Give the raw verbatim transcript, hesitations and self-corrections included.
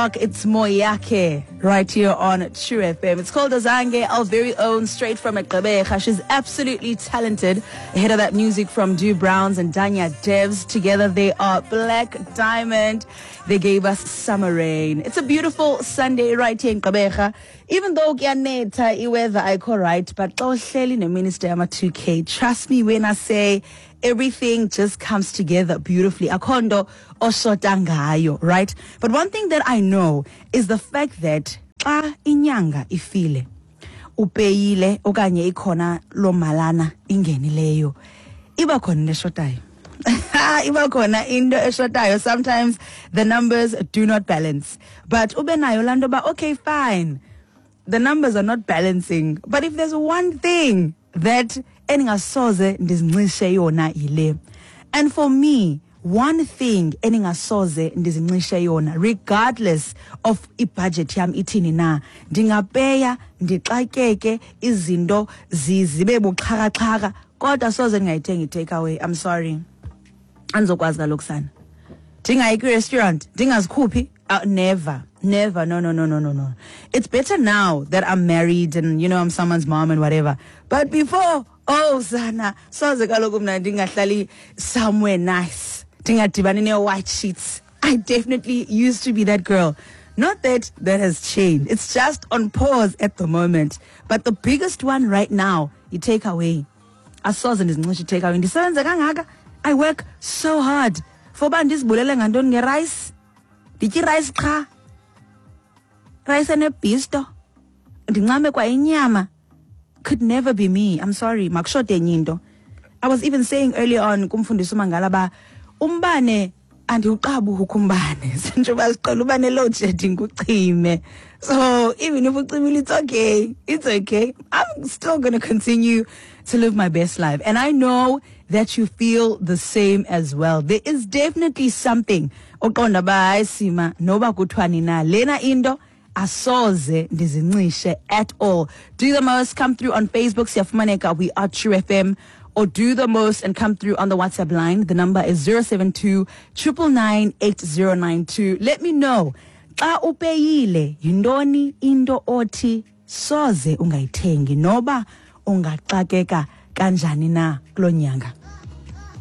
o'clock. It's Moyake right here on True F M. It's called Azange, our very own, straight from Gqeberha. She's absolutely talented. Ahead of that music from Dew Browns and Danya Devs. Together they are Black Diamond. They gave us Summer Rain. It's a beautiful Sunday right here in Gqeberha. Even though kuyanetha, i-weather ayikho right, but xa uhleli neminister yama two K, trust me when I say everything just comes together beautifully. Akho nto oshota ngayo, right? But one thing that I know is the fact that xa inyanga ifile, upeyile okanye ikhona loo malana ingenileyo, iba khona into eshotayo. Iba khona into eshotayo. Sometimes the numbers do not balance. But ube nayo laa nto ba, okay, fine. The numbers are not balancing. But if there's one thing that endingasoze ndizincishe yona yile. And for me, one thing endingasoze ndizincishe yona, regardless of ibudget yam ithini na, ndingapeya, ndixakeke, izinto zibe buxhakaxhaka, kodwa soze ndingayithengi i-takeaway. I'm sorry. Andizokwazi kaloku sana. Ndingayi kwi-restaurant, ndingazikhuphi. Uh, never, never, no, no, no, no, no, no. It's better now that I'm married and, you know, I'm someone's mom and whatever. But before, oh, sana, soze kaloku mna ndingahlali somewhere nice. Ndingadibani nee-white sheets. I definitely used to be that girl. Not that that has changed. It's just on pause at the moment. But the biggest one right now, you take away. Asoze ndizincishe i-take away. Ndisebenze kangaka. I work so hard. For uba ndizibulele ngantoni nge-rice? Nditya i-rice qha. Rice enebhisto. Ndincame kwa inyama. Could never be me. I'm sorry. Makushote enye into. I was even saying earlier on kumfundisi uMangala ba umbane andiwuqabuki umbane. Njengoba siqhela uba ne-load shedding ucime. So even if ucimile, it's okay. It's okay. I'm still gonna continue to live my best life. And I know that you feel the same as well. There is definitely something oqonda ba hayi sima noba kuthiwani na lena into asoze ndizincishe at all. Do the most, come through on Facebook, siyafumaneka, we are True F M, or do the most and come through on the WhatsApp line. The number is zero seven two, triple nine, eight zero nine two. Let me know. Xa upeyile, yintoni into othi soze ungayithengi noba ungaxakeka kanjani na kulo nyanga.